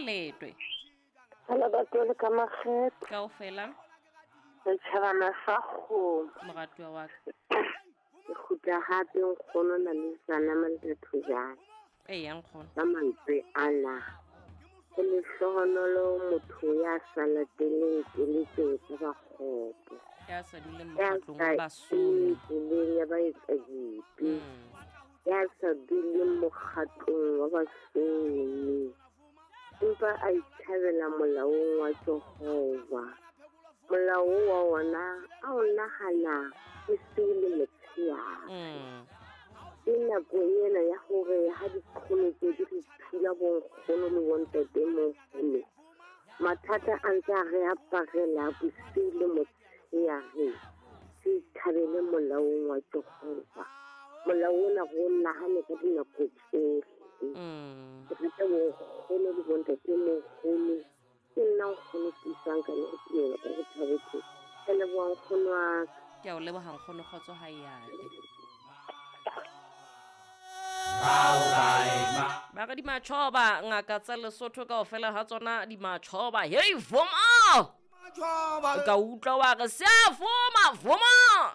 letwe. Hello batho ka makgetho. Kaofela. Setjhabana sa kgomo. Moratuwa wa ka. Ke kgutla hape nkgono na le sana mantathojana. Eya nkgono. Ka mantswe ana. Ho lehlohonolo motho ya sa lateleng keletso tsa bakgopo. Ya sa duleng Ya mokgatlong sa wa basomi. tseleng ya baetsadibe. Ya sa duleng mokgatlong wa basomi. Empa a ithabela molaong wa Jehova. Molao wa ona a o nahana bosiu le motshehare. Ke nako ena ya hore ha diqholotso di re thula bonkgono le bontatemoholo, mathata a ntse a re aparela bosiu le motshehare. Re ithabele molaong wa Jehova. Molao ona re o nahane ka dinako tsohle. Ke rata bonkgono le bontatemoholo. Ke nna nkgono Tiisang ka le tumelo ka re thabetse. Ke leboha nkgono wa ka. Ke a o leboha nkgono, kgotso ha e ate. Ba re di matjhoba, ngaka tsa Lesotho kaofela ha tsona di matjhoba. Hei, vuma! O ka utlwa wa re, se a vuma, vuma!